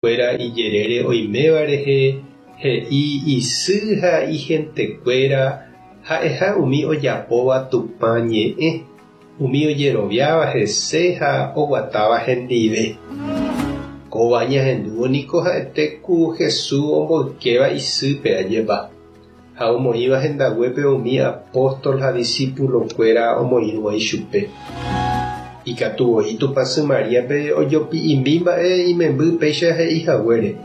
Kuéra ijerére oiméva rehe he'i isy ha ihentekuéra ha'eha umi ojapóva Tupã ñe'ẽ, umi ojeroviáva hese ha oguatáva hendive. Kóva ñahendúvo niko ha'ete ku Jesús omboykéva isýpe ajépa, ha omoĩva hendaguépe umi apóstol ha disípulokuéra omoirũva ichupe. Ikatu voi Tupãsy Maríape ojopi'imi mba'e imemby péicha he'i haguére.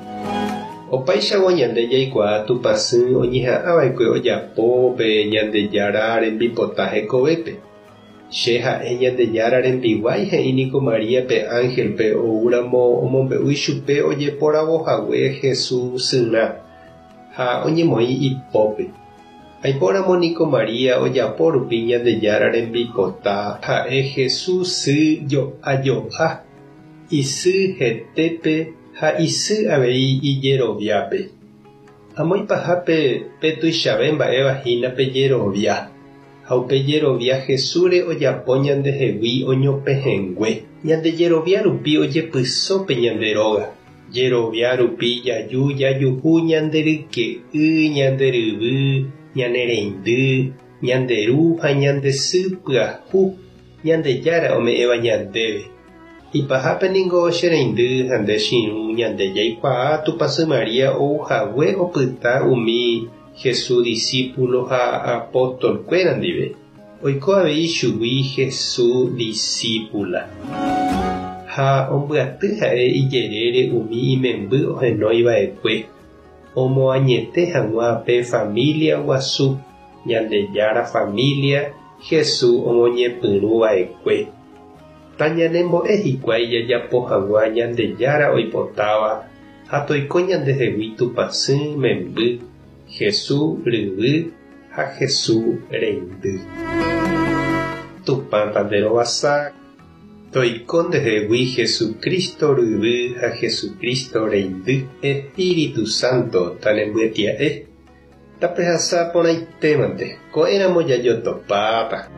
Opáichagua ñande jaikuaa Tupãsy oñeha'ãva'ekue ojapo pe Ñandejára rembipota hekovépe. Che ha'e Ñandejára rembiguái he'i niko María pe ánhelpe oúramo omombe'u ichupe ojeporavo hague Jesús syrã. Ha oñemoĩ ipópe. Aipóramo niko María ojapo rupi Ñandejára rembipota ha'e Jesús sy jo'a jo'a, isy hetépe ha isy avei ijeroviápe. Amo ipahápe pe tuichave mba'éva hína pe jerovia, ha upe jerovia Jesúsre ojapo ñandehegui oñopehẽngue. Ñande jerovia rupi ojepyso pe ñande róga. Jerovia rupi jaju jajuhu ñande ryke'y, ñande ryvy, ñane reindy, ñande ru ha ñande sy pyahu Ñandejára ome'ẽva ñandéve. Ipahápe ningo che reindy ha nde che irũ ñande jaikuaa Tupãsy María ou hague opyta umi Jesús disípulo ha apóstol-kuéra ndive. Oiko avei chugui Jesús disípula. Ha ombyaty ha'e ijerére umi imemby ohenói va'ekue, omoañete hag̃ua pe família guasu, Ñandejára família Jesús omoñepyrũ va'ekue. Tañanembo'e hikuái jajapo hag̃ua Ñandejára oipotáva ha toiko ñandehegui Tupãsy memby, Jesús ryvy ha Jesús reindy. Tupã tanderovasa, toiko ndehegui Jesucristo ryvy ha Jesucristo reindy. Espíritu Santo tanembyetia'e, tapehasa porãitémante, ko'ẽramo jajotopáta.